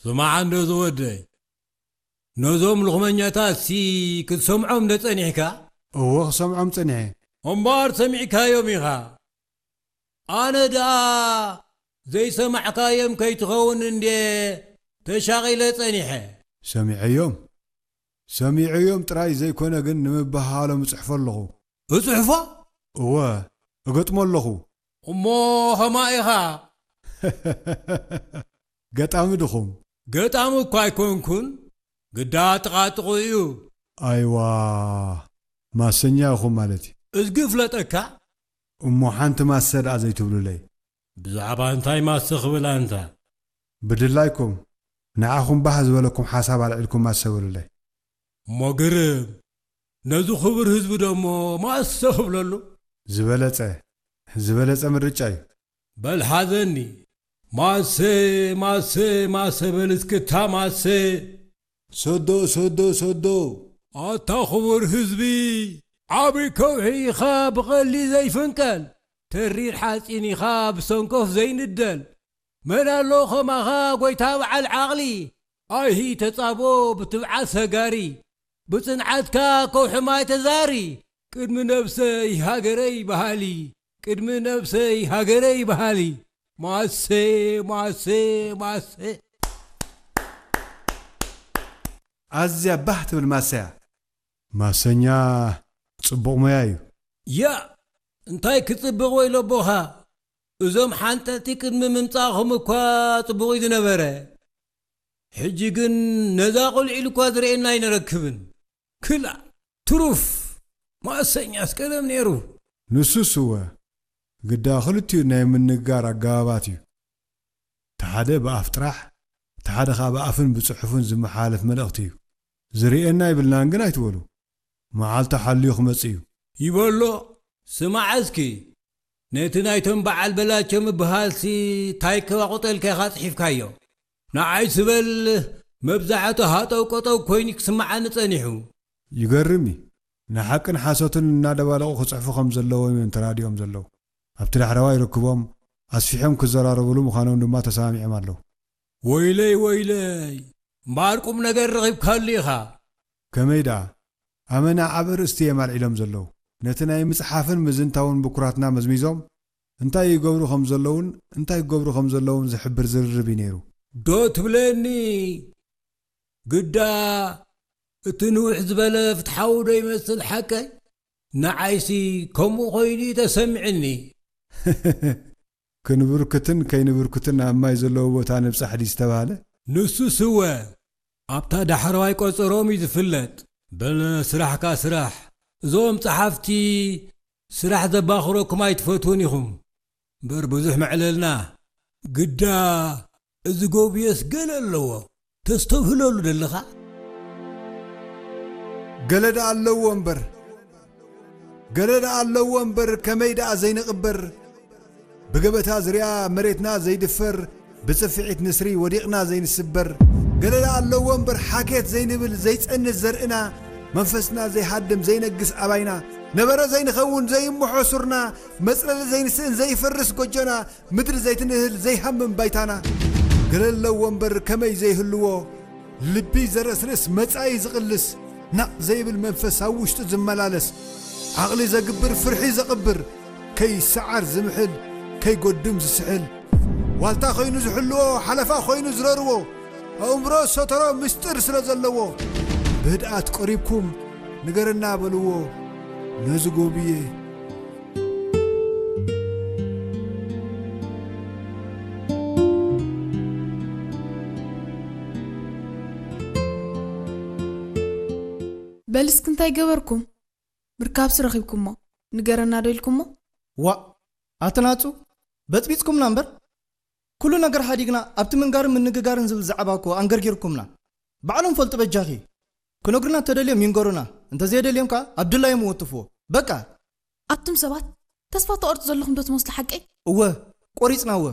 ስማዕ እንዶ ዝወደይ፣ ነዞም ልኽመኛታት ሲ ክትሰምዖም ዶ ጸኒሕካ? እወ፣ ክሰምዖም ጸኒሐ። እምበኣር ሰሚዕካዮም ኢኻ። ኣነ ደኣ ዘይሰማዕካዮም ከይትኸውን እንዴ ተሻቒለ ጸኒሐ። ሰሚዐዮም፣ ሰሚዐዮም ጥራይ ዘይኮነ ግን ንምብህሃሎም እጽሕፎ ኣለኹ። እጽሕፎ? እወ፣ እገጥሞ ኣለኹ። እሞ ኸማ ኢኻ። ገጣሚ ድኹም? ገጣሚ እኳ ኣይኮንኩን፣ ግዳ ጥቓጥቑ እዩ። ኣይዋ፣ ማሰኛ ኢኹም ማለት እዩ። እዝጊ ፍለጠካ። እሞ ሓንቲ ማሰ ደኣ ዘይትብሉለይ? ብዛዕባ እንታይ ማሰ ክብል ኣንታ? ብድላይኩም፣ ንዓኹም ባህ ዝበለኩም ሓሳብ ኣልዒልኩም ማሰ በሉለይ። እሞ ግርም፣ ነዚ ክቡር ህዝቢ ደሞ ማሰ ክብለሉ? ዝበለጸ፣ ዝበለጸ ምርጫ እዩ። በል ሓዘኒ፣ ማሰ፣ ማሰ፣ ማሰ በል እስክታ ማሰ። ሰዶ፣ ሰዶ፣ ሰዶ። ኣታ ክቡር ህዝቢ፣ ዓቢ ከውሒ ኢኻ ብቐሊ ዘይፍንቀል፣ ተሪር ሓጺን ኢኻ ብሰንኮፍ ዘይንደል። መን ኣሎ ኸማኻ ጐይታ በዓል ዓቕሊ፣ ኣይሂ ተጻቦ ብትብዓት ሰጋሪ፣ ብጽንዓትካ ከውሒ ማይ ተዛሪ፣ ቅድሚ ነብሰይ ሃገረይ በሃሊ፣ ቅድሚ ነብሰይ ሃገረይ በሃሊ፣ ማሰ፣ ማሰ፣ ማሰ። ኣዝያ ባህ ትብል ማሰያ። ማሰኛ ጽቡቕ ሞያ እዩ። ያእ! እንታይ ክጽብቕ ወይ ለቦኻ? እዞም ሓንጠጥቲ ቅድሚ ምምጻእኹም እኳ ጽቡቕ እዩ ዝነበረ። ሕጂ ግን ነዛ ቁልዒ ኢሉ እኳ ዝርእየና ኣይንረክብን። ክላእ! ትሩፍ! ማእሰኛስ ቀደም ነይሩ። ንሱስ እወ፣ ግዳ ክልቲኡ ናይ ምንጋር ኣገባባት እዩ። እቲ ሓደ ብኣፍ ጥራሕ፣ እቲ ሓደ ኸኣ ብኣፍን ብጽሑፍን ዝመሓላለፍ መልእኽቲ እዩ። ዝርእየና ኣይብልናን ግን ኣይትበሉ። መዓልቱ ሓልዩ ክመጽእ እዩ። ይበሎ፣ ስማዕ እስኪ፣ ነቲ ናይቶም በዓል በላቸው ምብሃልሲ ታይ ከባቑጠልካ ኢኻ ጽሒፍካዮ? ንዓይ ስበል፣ መብዛሕቱ ሃጠው ቀጠው ኮይኑ ክስምዓኒ ጸኒሑ። ይገርም እዩ። ንሓቅን ሓሶትን እናደባለቑ ክጽሕፉ ከም ዘለዎም እዮም ተራዲኦም ዘለዉ። ኣብቲ ዳሕረዋይ ርክቦም ኣስፊሖም ክዘራረቡሉ ምዃኖም ድማ ተሰማሚዖም ኣለዉ። ወይለይ፣ ወይለይ፣ እምበኣር ቁም ነገር ረኺብካሉ ኢኻ። ከመይ ደኣ? ኣመና ዓቢ ኣርእስቲ እዮም ኣልዒሎም ዘለዉ። ነቲ ናይ ምጽሓፍን ምዝንታውን ብኩራትና መዝሚዞም፣ እንታይ ይገብሩ ከም ዘለዉን እንታይ ክገብሩ ከም ዘለዉን ዝሕብር ዝርርብ እዩ ነይሩ። ዶ ትብለኒ? ግዳ እቲ ንውሕ ዝበለ ፍትሓዊ ዶ ይመስል ሓቀይ? ንዓይሲ ከምኡ ኮይኑ እዩ ተሰሚዕኒ። ክንብርክትን ከይንብርክትን ኣብ ማይ ዘለዎ ቦታ ንብጻሕ ድዩ ዝተባህለ? ንሱስ እወ፣ ኣብታ ዳሕረዋይ ቆጸሮም እዩ ዝፍለጥ። በል ስራሕካ ስራሕ። እዞም ጸሓፍቲ ስራሕ ዘባኽረኩም ኣይትፈትዉን ኢኹም። እምበር ብዙሕ መዕለልና። ግዳ እዚ ጎብየስ ገለ ኣለዎ። ተስተብህለሉ ደለኻ? ገለ ደኣ ኣለዎ እምበር፣ ገለ ደኣ ኣለዎ እምበር፣ ከመይ ደኣ ዘይንቕበር? ብገበታ ዝርያ መሬትና ዘይድፈር፣ ብጽፍዒት ንስሪ ወዲቕና ዘይንስበር። ገለ ደኣ ኣለዎ እምበር፣ ሓኬት ዘይንብል ዘይጸንት ዘርእና፣ መንፈስና ዘይሃድም ዘይነግስ ኣባይና፣ ነበረ ዘይንኸውን ዘይምሖ ሱርና፣ መጽለሊ ዘይንስእን ዘይፈርስ ጎጆና፣ ምድሪ ዘይትንህል ዘይሃምም ባይታና። ገለ ኣለዎ እምበር ከመይ ዘይህልዎ፣ ልቢ ዘረስርስ መጻኢ ዝቕልስ፣ ናቕ ዘይብል መንፈስ ኣብ ውሽጡ ዝመላለስ፣ ዓቕሊ ዘግብር ፍርሒ ዘቕብር፣ ከይሰዓር ዝምሕል፣ ከይጎድም ዝስሕል፣ ዋልታ ኮይኑ ዝሕልዎ፣ ሓለፋ ኮይኑ ዝረርዎ፣ ኣእምሮ ሰተሮ ምስጢር ስለ ዘለዎ፣ ብህድኣት ቀሪብኩም ንገረና በልዎ ነዚ ጎብየ። በል እስኪ እንታይ ገበርኩም? ምርካብሲ ረኺብኩሞ? ንገረና ዶ ኢልኩሞ? ዋእ! ኣቲ ናጹ፣ በጽቢጽኩምና እምበር። ኩሉ ነገር ሓዲግና ኣብቲ ምንጋርን ምንግጋርን ዝብል ዛዕባ እኮ ኣንገርጊርኩምና። ባዕሎም ፈልጡ በጃኺ። ክነግሩና እንተደልዮም ይንገሩና፣ እንተዘየደልዮም ከኣ ኣብ ድላዮም ይወትፍዎ። በቃ! ኣቱም ሰባት፣ ተስፋ ትቖርጹ ዘለኹም ዶ ትመስሉ ሓቀይ? እወ፣ ቆሪጽና እወ።